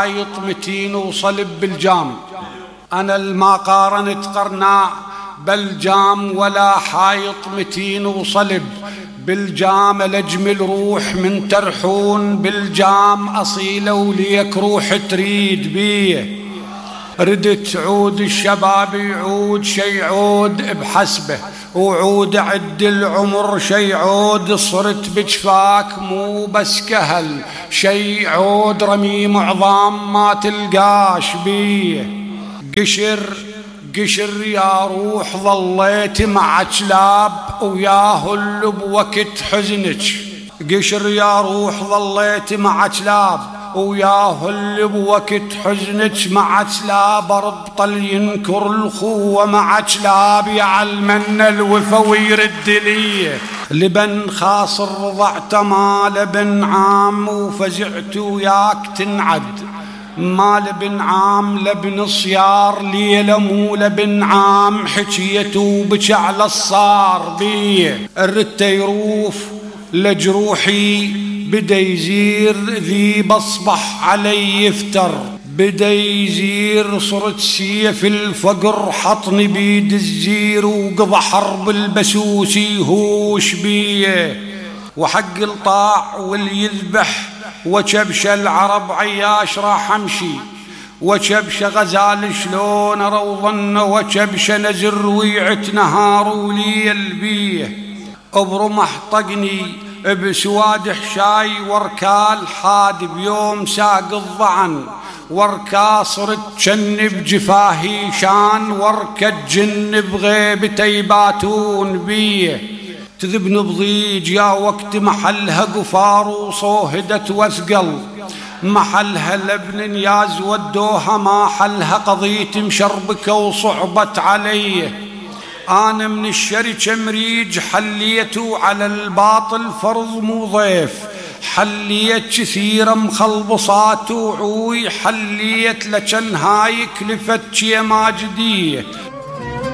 حايط متين وصلب بالجام. أنا الما قارنت قرناء بالجام ولا حايط متين وصلب بالجام. الأجمل روح من ترحون بالجام أصيلة وليك روح تريد بيه. ردت عود الشباب يعود شي عود بحسبه، وعود عد العمر شي عود صرت بجفاك مو بس كهل، شي عود رميم عظام ما تلقاش بيه. قشر يا روح ظليت مع كلاب وياه اللي بوقت حزنك. قشر يا روح ظليت مع كلاب وياه اللي بوقت حزنك. مع كلاب ربطل ينكر الخوة، مع كلاب يعلمنا الوفا ويرد لي. لبن خاصر رضعته ما لبن عام وفزعت وياك تنعد. ما لبن عام لبن صيار ليلة مو لبن عام. حكيته بك على الصار بيه. الرت يروف لجروحي بدا يزير ذيب اصبح علي يفتر. بدا يزير صرت سيف الفقر حطني بيد الزير وقضى حرب البسوسي هوش بيه. وحق الطاع واللي يذبح وكبش العرب عياش راح امشي. وكبش غزال شلون روضن وكبش نزر ويعت نهار وليل بيه. برمح طقني بسواد حشاي وركال حاد بيوم ساق الضعن. وركا صرت جنب جفاهي شان وركا جن بغيبته يباتون بيه. تذبن بضيج يا وقت محلها قفار وصوهدت وثقل. محلها لبن ياز ودوها ما حلها قضيت مشربكة وصعبت علي. أنا من الشركة مريج حليته على الباطل فرض مو ضيف. حليت كثيرة مخلبصات وعوي حليت لجن هاي كلفت شي ماجدية.